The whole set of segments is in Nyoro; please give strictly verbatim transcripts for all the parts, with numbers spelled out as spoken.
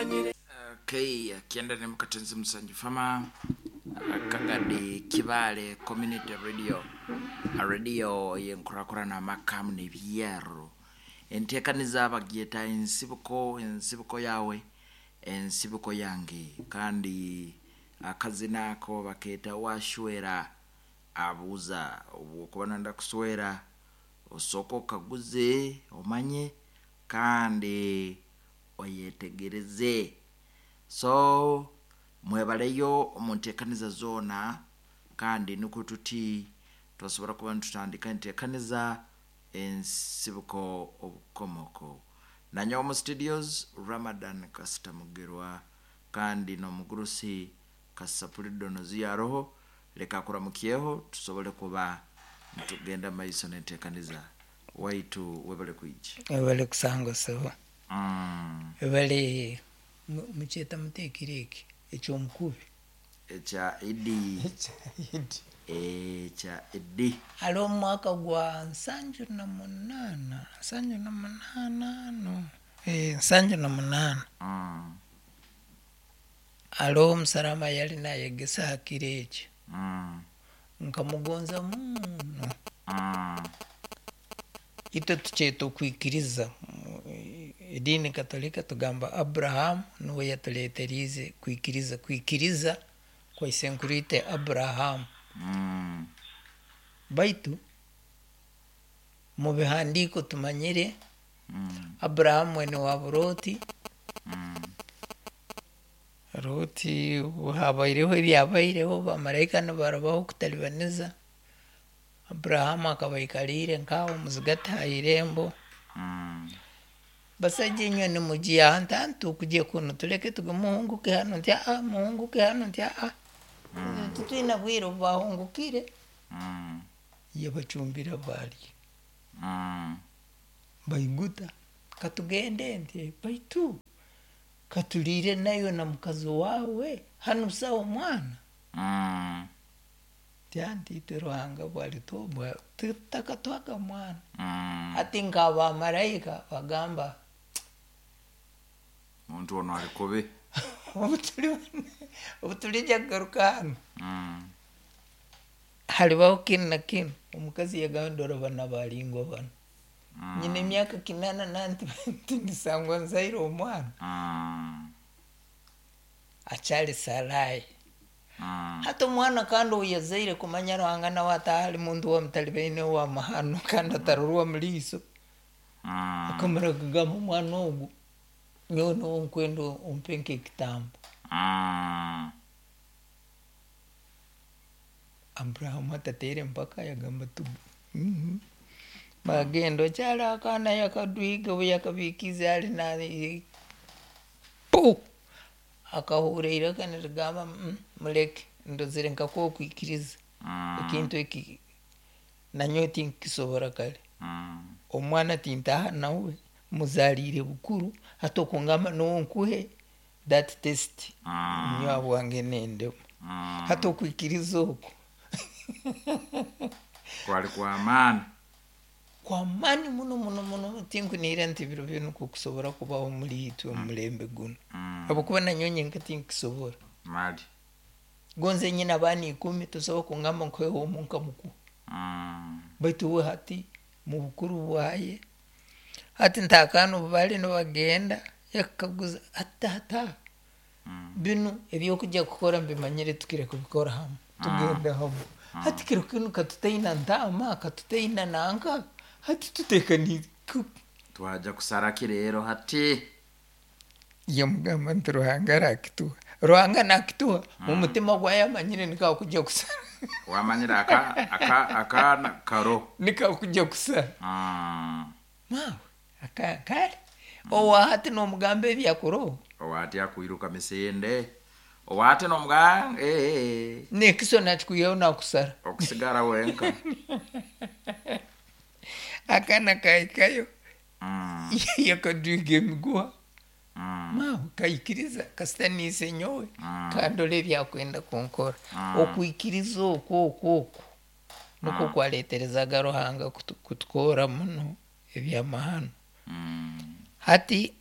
Tumanyire. Okay, akienda mukatenzi musanju fama Kagadi Kibale Community Radio, a radio yenkurakurana amakamu nebyaro entekaniza bagyeta ensibuko, ensibuko yawe ensibuko yange, kandi akazina ako baketa washwera abuuza. Obwokuba nanda kuswera osooka okaguze omanye kandi oyetegereze. So mwebaleyo omu nteekaniza zoona, kandi nikwo tuti twasobora kuba nitutandika enteekaniza ensibuko obukomoko. Nanyowe omu studios Ramadan Kasita Mugerwa, kandi n'omugurusi Kasapuli Donoziyo aroho. Leka akuramukyeho tusobole kuba nitugenda maiso n'enteekaniza. Waitu webale kwija. Webale kusanga sebo. Mm. Webale. Mukyeta muteekire eki ekyomukubi? Ekya Idi. Ekya Idi. Haliho omumwaka gwa nsanju na munaana, nsanju na munaana, no, eh, nsanju na munaana. Mm. Haliho omusarama yali nayegesa ha kiro ekyo. Mm. Nkamugonza muno. Mm. Itwe tukyeta okwikiriza. Ediini Katolika tugamba Abrahamu nuwe yatuleeteriize kwikiriza, kwikiriza kwa isenkuru itwe Abrahamu. Mm. Baitu mu bihandiiko tumanyire Mm. Abrahamu mwene wa Loti. Mm. Loti habaireho ebyabaireho, bamalaika nibarabaho kutalibaniza. Abrahamu akaba aikaliire nk'aho muzigati ha irembo. Mm. Basaija inywe nimugiya ahantu hantu kujya kunu, tuleke tuge muhunguke hanu, nti aa, muhunguke hanu, nti aa, tutwina bwire obu bahungukire. Mm. Yabacumbira balya. Mm. Baiguta, katugende, nti baitu katuliire nayo na mukazi wawe hanu sawa omwana. Mm. Ti anti itwe Ruhanga bwalitubwa takatwaga mwana. Mm. Hati nk'abamalaika bagamba, muntu ono ali kubi. Obu tulijja kugaruka hanu, Mm. halibaho kinu na kinu. Omukazi yagamba, ndora bana balingwa bano. Mm. Nyina emyaka kinana nanti tindisangwa nzaire omwana. Mm. Akyali Sarai. Mm. Hati omwana kandi ou yazaire kumanya Ruhanga nawe atahali muntu wamutalibaine wa mahano kandi atarorwa muliiso. Mm. Akamara kugamba omwana ogu nyowe nuwe nkwenda ompe nk'ekitambo. Mm. Abrahamu atateere empaka, yagamba tu mm-hmm. Bagenda okyali akaana yakadwiga obu yakabiikize ali na pu akahurra iraka nirigamba, mm, muleke ndozere nkakuha okwikiriza. Mm. Ekintu eki nanyowe tinkisobora kare. Mm. Omwana tintaha nawe muzaliire bukuru, hati okungamba nuwe nkuhe that test. Mm. Nyowe bwange nendemu. Mm. Hati okwikiriza oku kwali kwa maani. Kwamaani muno muno muno. Tinkunihira nti biro binu kukusobora kubaho omuli itwe omulembe guno. Mm. Habwokuba nanyowe nyenka tinkisobora. Mali. Gonze nyina abaana ikumi, tosobola kungamba nkuheho omu nkamukuha. Mm. Baitu we hati mu bukuru bwaye, hati ntaakaana obu bali nibagenda yakaguza ati tata, Mm. binu ebyokujya kukora mbimanyire, tukire kubikora hamu, tugenda hamu. Hati kiro kinu katutaina ntaama, katutaina nanka, hati tutekaniire. Twaja kusaraki rero hati? Yamugamba nti Ruhanga arakituha, Ruhanga nakituha. Mu mutima gwaye amanyire nikakujya kusara. Wamanyire aka aka akaana karo. Nikakujya kusara. Mm. Mawe aka- kale owa hati nomugamba ebyakuroho. Owati akwiruka misinde, owate nomuga eh, nekiso nakikwihaho nakusara. Okusigara wenka. Akaana kahikayo, Mm. yakadwiga emiguha. Mm. Mawe kaikiriza kasita niise nyowe. Mm. Kandora ebyakwenda kunkora. Mm. Okwikiriza okwo okwo okwo nukwo kwaleterezaga Ruhanga kutu- kutukora muno ebyamahano. Mm. Hati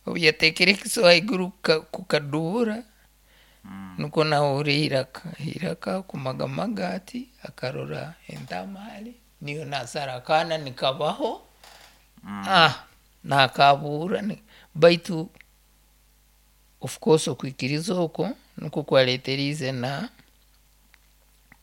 Obu yateekere ekiso haiguru kukadubura, nukwo nahurra iraka, iraka kumagamaga ati, akarora entaama hali, niyo nasara akaana nikabaho, ah, nakabuura, baitu of course okwikiriza okwo nikwo kwareeteriize na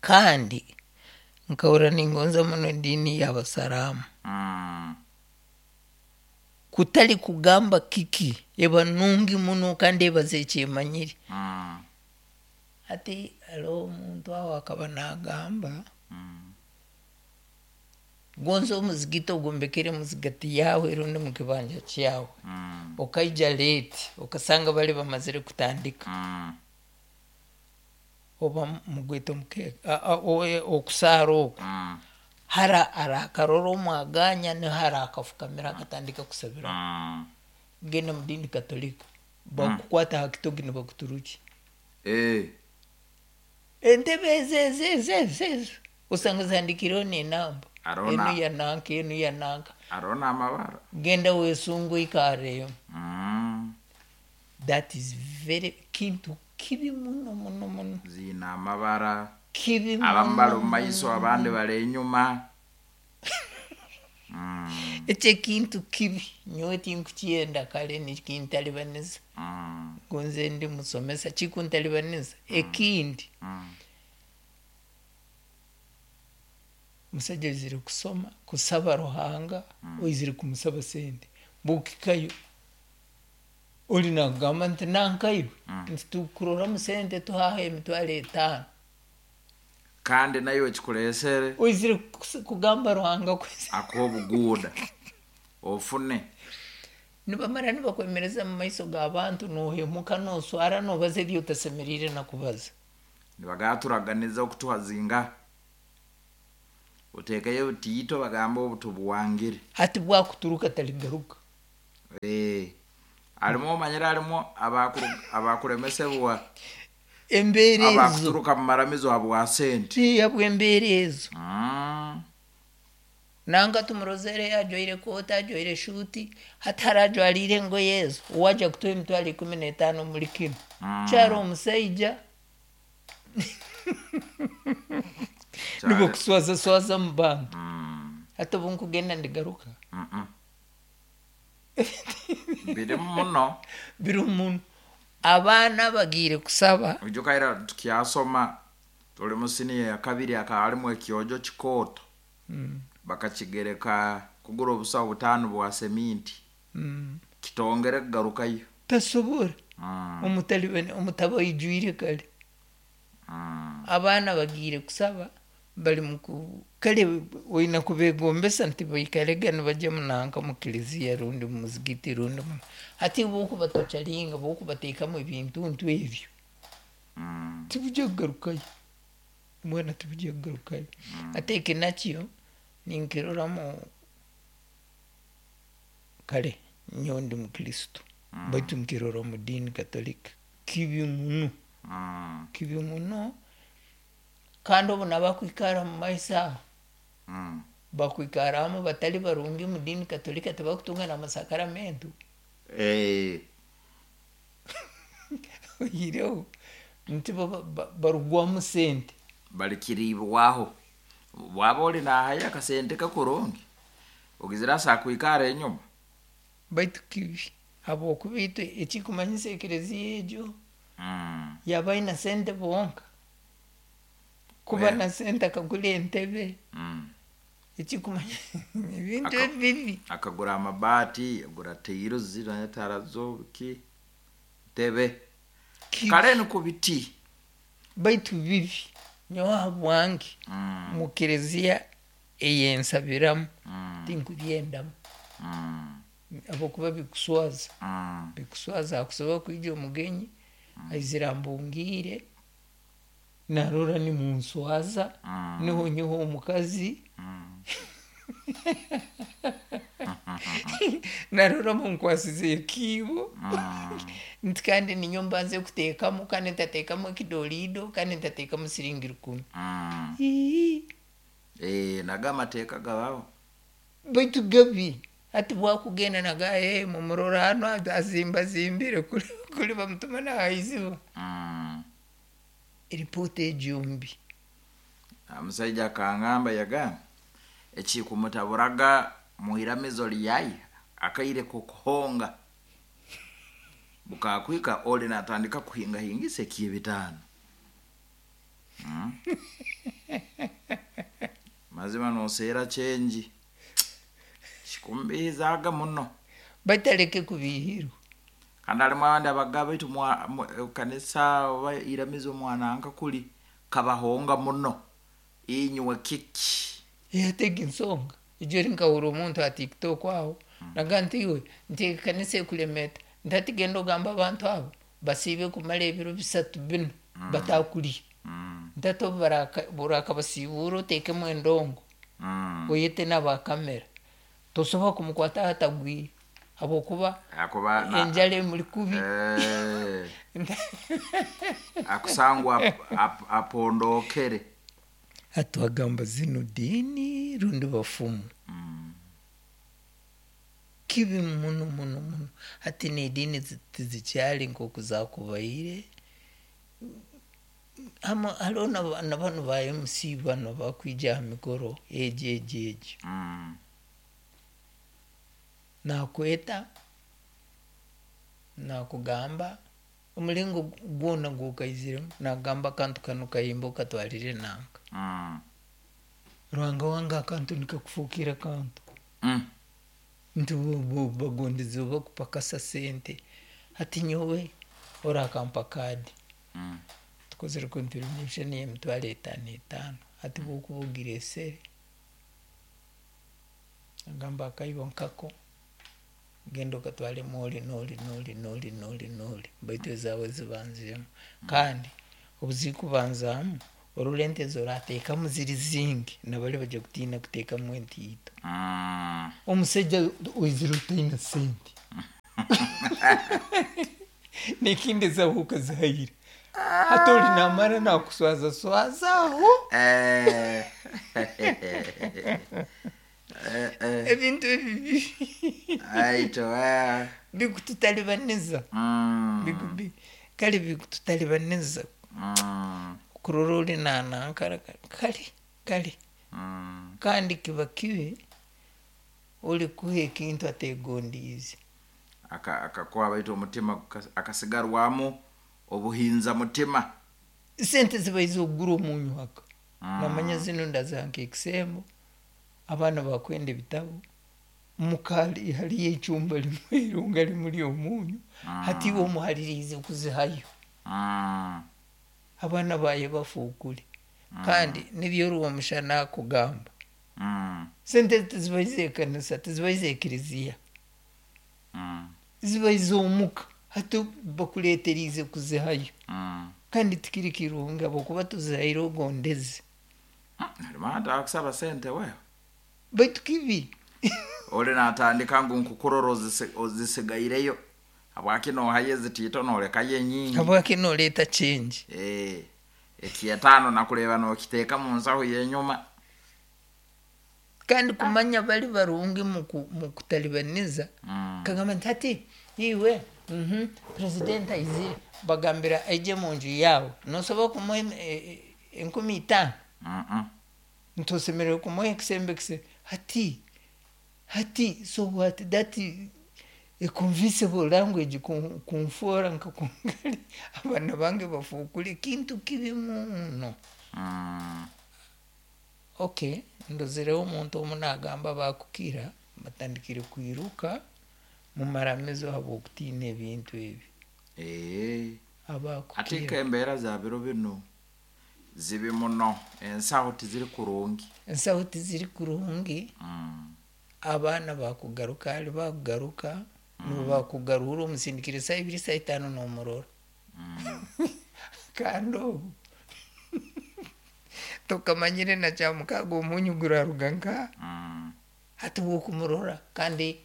kandi nkahurra ningonza muno ediini yabasiraamu. Kutari kugamba kiki, eba nungi muno kandi ebaza ekyemanyire. Hati haroho omuntu aho akaba nagamba, gonza omuzigiti ogombekere muzigati yaawe rundi mukibanja kyawe, okaija late okasanga bari bamazire kutandika, oba mugweta omukeeka, okusaara okwo, hara arakarora omwaganya niho arakafukamira akatandika kusabiraho. Genda mudiini katolika, bakukwata hakitogi nibakuturukya. Entebe ezi ezi ezi ezi ezi osanga zihandiikireho nenamba, enu ya nanka, enu ya nanka. Haroho namabara. Genda wesunge oikarreyo. That is very kintu kibi muno muno muno. Ziine amabara. Kibi abamu bali muno. Mumaiso, abandi bali enyuma. Ekyo ekintu kibi, nyowe tinkukyenda, kare nikintaribaniza. Gonze ndi musomesa, kikuntaribaniza. Ekindi, omusaija oizire kusoma, kusaba Ruhanga, oizire kumusaba sente, bwokikayo, oli nakugamba nti nankaiwe, nti tukuroramu sente tuhaho emitwaro etaano. Kandi nayo ekikuleesere. Oizire kugamba Ruhanga. Akuha obuguuda ofune. Nibamara nibakwemereza mumaiso g'abantu, nohemuka, noswara, nobaza ebi otasemeriire nakubaza. Nibagamba turaganiza okutuha zingaha, oteekeyo obutiito, bagamba obu tubuwangire. Hati bwakuturuka taligaruka. Harimu omanyire harimu abakuremesebwa embeera ezo abakuturuka mumaramizo habwa sente. Habwembeera ezo. Nanka tumurozere ajwaire kooti, ajwaire shuuti, hati hara ajwariire engoye ezo, owaija kutuha emitwaro ikumi n'etaano omuri kinu kyaro omusaija nibakuswaza swaza mu bantu. Hati obu nkugenda ndigaruka. Birimu muno. Birimu muno, abaana bagiire kusaba. Ijuka ira tukyasoma, tuli mu siniya ya kabiri, hakaba harimu ekyojo kikooto, bakakigereka kugura obusaho butaano bwa seminti, kitongere kugarukayo. Tasobora, omutaba oijwire kare. Abaana bagiire kusaba bari muku kare oine kubegombesa nti baikarege nibajya munanka mukiliziya rundi mumuzigiti rundi hati bwokubatocharinga, bwokubateekamu ebintuntu ebyo, tibujya kugarukayo, mbwenu tibujya kugarukayo. Hati eki nakyo ninkiroramu, kare nyowe ndi mukristo, baitu nkirora omu diini katolika kibi muno, kibi muno. Kandi obu nabakwikara mumaiso aho, bakwikaramu batari barungi mu diini katolika, tibakutunga namasakaramentu. Oihireho nti bo barugwamu sente. Balikiriibwaho bwaba oli nahayo akasente kakurungi, ogizire asobola kwikara enyuma. Baitu kibi, habwokuba itwe ekikumanyisa ekereziya egyo yaba aine sente bonka, kuba na sente akagura entebe, ekikumanyisa ebintu ebibi. Akagura amabaati, agura tairuzi tarazo biki ntebe kare nikwo biti. Baitu bibi, nyowe habwange mukereziya eyensabiramu tinkubyendamu, habwokuba bikuswaza, bikuswaza. Hakusobora kwija omugenyi aizire ambungiire, narora nimunswaza, niho nyowe omukazi narora munkwasize ekiibo, nti kandi ninyowe mbanze kuteekamu, kandi ntateekamu ekidolido, kandi ntateekamu siringi rukumi. Nago amateeka gabaho. Baitu gabi. Hati bwakugenda naga hey, mumurora hano azimbazimbire kuli, kuli bamutuma nahaiziba. Mm. Eripoota egyo mbi. Omusaija akangamba, yagamba ekikumutaburaaga mwiramizo lyaye akaire kokuhonga bukakwika oli natandika kuhingahingisa ekyebitaano. Mm. Mazima noseera kyengi kikumbihizaga muno. Bataleke kubihirwa. Kandi halimu abandi abagaba baitu mwa- mu- kanisa oba iramizo mwananka kuli kabahonga muno inywe kiki. Yatega ensonga ejo nkahura omuntu ha TikTok aho naga nti iwe nti ekanisa ekulemeta nti hati genda ogamba abantu abo basiibe kumara ebiro bisatu binu batakulya. Mm. Nti hati obu baraka- burakabasiibura oteekemu endongo Mm. oyete n'abakamera tosobola kumukwata hatagwire habwokuba Akuba na- enjala emuli kubi. Eh, akusangwa ap- ap- apondokere. Hati wagamba zino diini rundi bafumu. Mm. Kibi muno muno muno. Hati n'ediini zi- tizikyali nk'oku zakubaire. Hama hariho na na banu ba M C bano bakwija aha mikoro egi egi egi. Mm. Nakweta nakugamba omulingo gwona gwokaiziremu nagamba akantu kanu kayimba okatwarire nanka. Mm. Ruhanga wange akantu nikakufukira kantu. Mm. Nti bo- bo- bagondeze bakupakasa sente hati nyowe orakampa kadi. Mm. Tukozere contribution y'emitwaro etaano etaano hati bwokuba ogiresere agamba akaibo nkako genda okatwaremu ori nori nori nori nori nori baitu ezaawe zibanziremu kandi obuzikubanzamu orora ente zorateekamu ziri zingi nabari bajya kutiina kuteekamu entiito. Mm. Omusajja oizire otaine sente nekindi ezawe okazihayire hati ori namara nakuswaza swaza aho. Eh. Eh, eh. Ebintu ebibi Aito, eh. bikututalibaniza. Mm. Biku- bi- kale bikututalibaniza. Mm. Kurora ori nanankara kale kale. Mm. Kandi kiba kibi ori kuha ekintu ategondiize. Aka- akakuha baitu omutima guka- akasigarwamu obuhinza mutima. Sente zibaize okugura omunyu aka. Mm. Namanya zino ndaziha nkekisembo abaana bakwenda ebitabo mukali haliyo echumba limwe irunga limuli omunyu. Mm. Hati iwe omuhaririize kuzihayo. Mm. Abaana baye bafuukure kandi nibyo omushana akugamba. Mm. Sente tizibaize ekanisa, tizibaize ekiriziya. Mm. Zibaize omuka hati bakuleeteriize kuzihayo. Mm. Kandi tikiri kirungi habwokuba tuzihaire ogondeze. Harimu atakusaba sente wewe. Baitu kibi. Oli natandika ngu nkukurora ozise- ozisigaireyo habwaki nohayo ezitiito nolekayo enyingi. Habwaki noleeta change. Eh, ekyetaano nakureeba nokiteeka mu nsaho yenyuma. Kandi kumanya bali barungi muku- mukutalibaniza. Mm. Kagamba nti hati iwe mhm, president aizire bagambira aije munju yawe nosobola kumuha em- e- e- enkumi itaano. Mm-mm. Ntosemerere kumuha ekisembo ekise hati hati so what that a convincible language kun- kunfoora nkakungali abaana bange bafuukule kintu kibi muno. Mm. Okay, ndozereho omuntu omu nagamba bakukira batandikire kwiruka mumaramizo habwokutiina ebintu ebi. Eh. Abakukira. Ate embeera za biro bino zibi muno, ensaho tiziri kurungi. Ensaho tiziri kurungi. Mm. Abaana bakugaruka hali bakugaruka nibo bakugarura omusindikire saa ibiri saa itaano nomurora. Mm. Kandi obu tokamanyire na kyamukaga omunyu guraruga nka. Mm. Hati bwokumurora kandi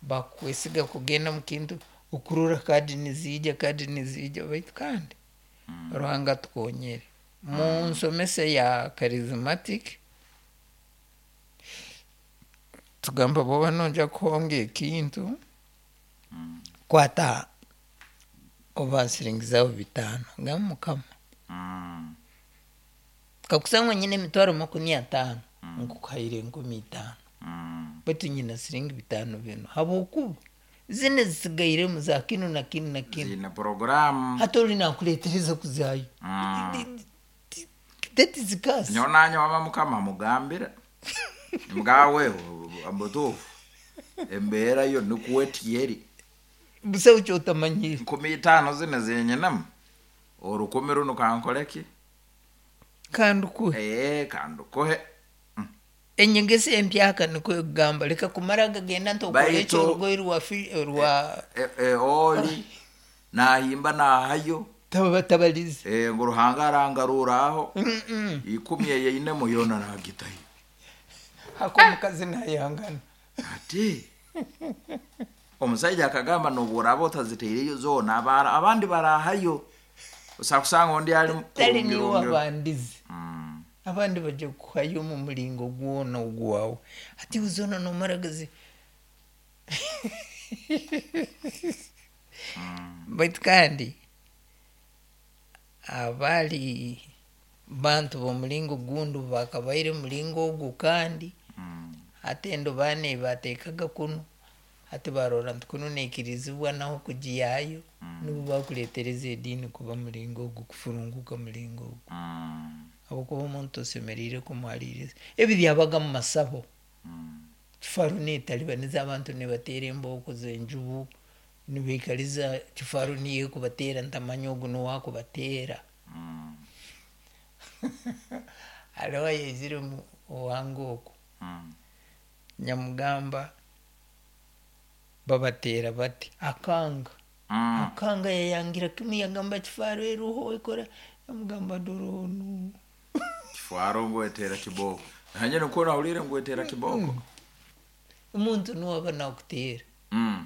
bakwesiga kugenda mukintu okurora kadi niziija kadi niziija baitu kandi Mm. Ruhanga tukonyere mu nsomesa ya charismatic. Tugamba bwoba nojya kuhonga ekintu, kwata oba siringi zawe bitaano, gamba Mukama, Mm. kakusangwa nyine emitwaro makumi ataano, nkukuhaire enkumi itaano, Mm. baitu nyina siringi bitaano binu, habwokuba zine zisigairemu za kinu na kinu na kinu. Zina programu. Hati oli nakuletereza kuzayo. Mm. That is curse. Nyowe nanye wama Mukama mugambira mugawe mbutuufu embeera yo nikuwetiyeri. Busaho kyotamanyire. Nkumi itaano zino zenyinamu orukumi runo kankoleki. Kandi kuhe. Ee, kandukuhe. Enyegesa empyaka nikwo ekugamba leka kumara gagenda nti okole Baitu- ekyo orugoye rwa fi- rwa E- e, oli nahimba nahayo. Tabatabalize. E, ngu Ruhanga arangaruraho. Mm-mm. Ikumi eyeinemu yona nagitayo. Hako omukazi nayangana. Ati omusaija akagamba nobworaba otaziteireyo zoona, abara- abandi barahayo, osakusanga ondi ali Tali niwe kurungirungiro. abandize. Mm. Abandi bajja kuhayo omu mulingo gwona ogwawe, ati zona nomaragazi. Baitu kandi abali bantu b'omulingo gundi bakabaire mulingo ogu kandi. Mm. Hati endobani bateekaga kunu, hati barora nti kunu neikirizibwa naho kugiyayo, nibo bakuletereza ediini kuba mulingo ogu, kufurunguka mulingo ogu. Mm. Habwokuba omuntu osemeriire kumuhaliiriza ebi byabaga mu masabo. Mm. Kifaru neetalibaniza abantu, nibateera embooko z'enjubu, nibaikaliza kifaru niyo ekubateera, ntamanya ogu nuwe akubateera. Mm. Hariho ayaizire mu owange oku, Mm. nyamugamba babateera bati, akanga. Mm. Akanga, yayangira kimu, yagamba kifaru eruho ekora, yamugamba doronu. Kifwaro ngwetera kiboko, nanye nikuwa nawulire ngwetera kiboko. Omuntu nuwe aba nakuteera. Mm.